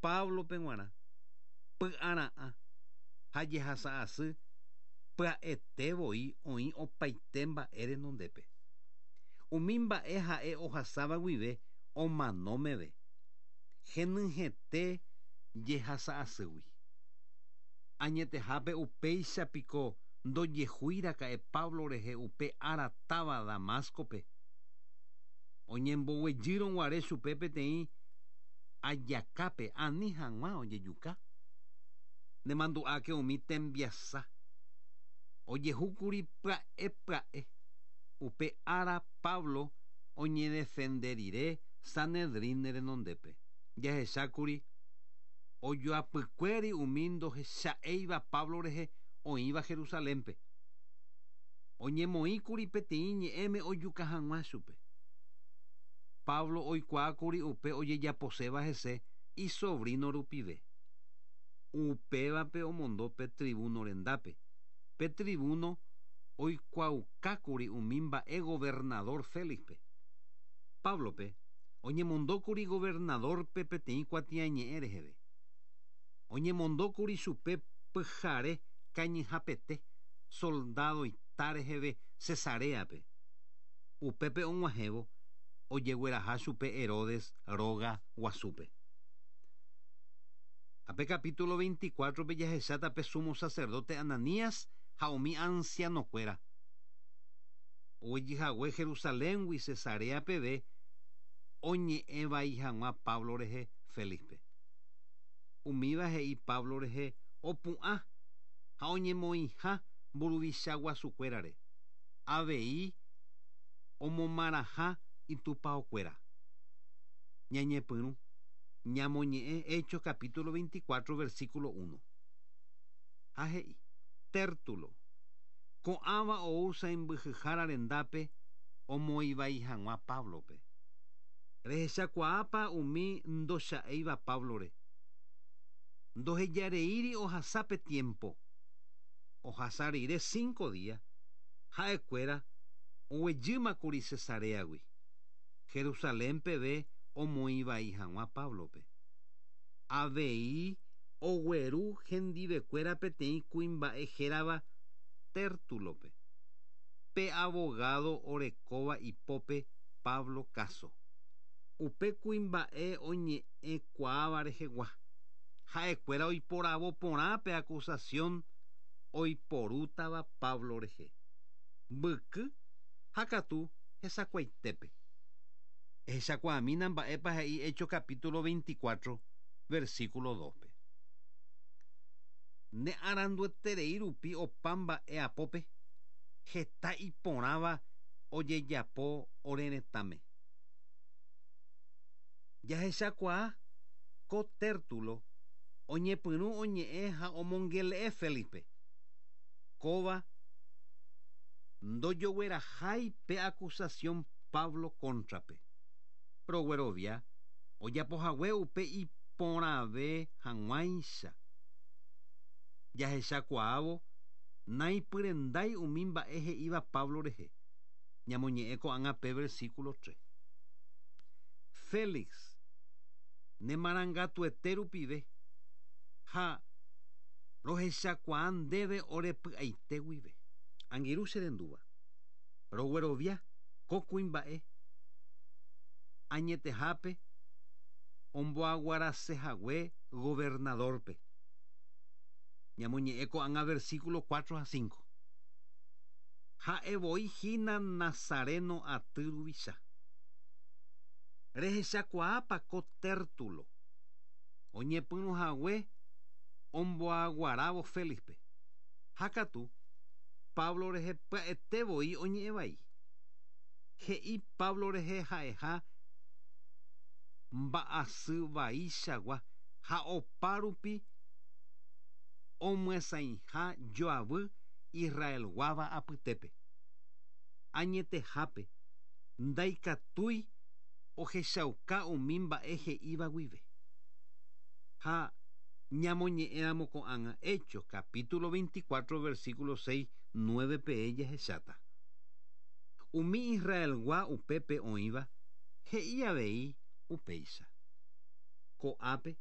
Páblope g̃uarã, py'ara'ã ha jehasa asy pya'ete voi oĩ opaite mba'e renondépe. Umi mba'e ha'e ohasáva guive omano meve, henyhẽte jehasa asýgui. Añetehápe upéicha piko ndojehúi raka'e Pablo rehe upe ára táva Damáscope, oñemboguejýrõ guare chupe peteĩ ajakápe ani hag̃ua ojejuka? Nemandu'áke umi tembiasa ojehúkuri pya'e pya'e upe ára Pablo oñedefende rire Sanedrín renondépe. Jahechákuri ojoapykuéri umi ndohecha'éiva Pablo rehe oĩva Jerusalénpe. Oñemoĩkuri peteĩ ñe'ẽme ojuka hag̃ua chupe. Pablo oikuaákuri upe ojejaposéva hese isobrino rupive. Upévape omondo pe tribuno rendápe. Pe tribuno oikuaaukákuri umi mba'e governadór Félixpe. Páblope oñemondókuri governadórpe peteĩ kuatiañe'ẽ reheve. Oñemondókuri chupe pyhare kañyhapete soldadoita reheve Cesaréape. Upépe og̃uahẽvo ojegueraha chupe Herodes róga guasúpe. Ha pe capítulo 24-pe jahecháta pe sumo sacerdote Ananías ha umi ansianokuéra oguejyhague Jerusaléngui Cesarea peve oñe'ẽ vai hag̃ua Pablo rehe Félixpe. Umíva he'i Pablo rehe opu'ã ha oñemoĩha mburuvicha guasukuérare, avei omomarãha itupaokuéra. Ñañepyrũ ñamoñe'ẽ Hechos capítulo 24 versículo 1. Ha he'i, Tértulo, ko'ãva ou sãimbyhyhára rendápe omoĩ vai hag̃ua Páblope. Rehechakuaápa umi ndocha'éiva Páblore? Ndohejareíri ohasa pe tiémpo. Ohasa rire cinco día, ha'ekuéra oguejýmakuri Cesaréagui, Jerusalén peve omoĩ vai hag̃ua Páblope. Avei ogueru hendivekuéra peteĩ kuimba'e hérava Tértulope, pe avogádo orekóva ipópe Pablo káso. Upe kuimba'e oñe'ẽkuaáva rehegua, ha'ekuéra oiporavo porã pe akusasión oiporútava Pablo rehe, mbyky ha katu hesakuaitépe. Ehechakuaamína mba'épa he'i Hechos capítulo 24, versículo 2-pe. Ne arandueterei rupi opa mba'e apópe, heta iporãva ojejapo ore retãme. Jahechakuaa ko Tértulo oñepyrũ oñe'ẽ ha omongele'e Félixpe. Kóva ndojoguerahái pe acusación Pablo kóntrape. Roguerovia ojapohague upe iporãve hag̃uáicha. Jahechakuaávo naipyrendái umi mba'e he'íva Pablo rehe, ñamoñe'ẽ ko'ág̃a pe versículo 3. Félix, ne marangatuete rupive ha rohechakuaa ndéve ore py'aite guive. Angirũ che rendúva, roguerovia ko kuimba'e añetehápe omboaguarase hague governadórpe. Ñamoñe'ẽ ko'ág̃a versículo 4 ha 5. Ha'e voi hína Nazareno aty ruvicha. Rehechakuaápa ko Tértulo oñepyrũ hague omboaguarávo Félixpe? Ha katu, Pablo rehe pya'ete voi oñe'ẽ vai. He'i Pablo rehe ha'eha mba'asy vaichagua ha opa rupi omyasãiha joavy Israelguáva apytépe. Añetehápe, ndaikatúi ohechauka umi mba'e he'íva guive. Ha ñamoñe'ẽramo ko'ág̃a Hechos capítulo 24 versículo 6, 9 peẽ jahecháta. Umi Israelgua upépe oĩva he'i avei upéicha. Ko'ápe.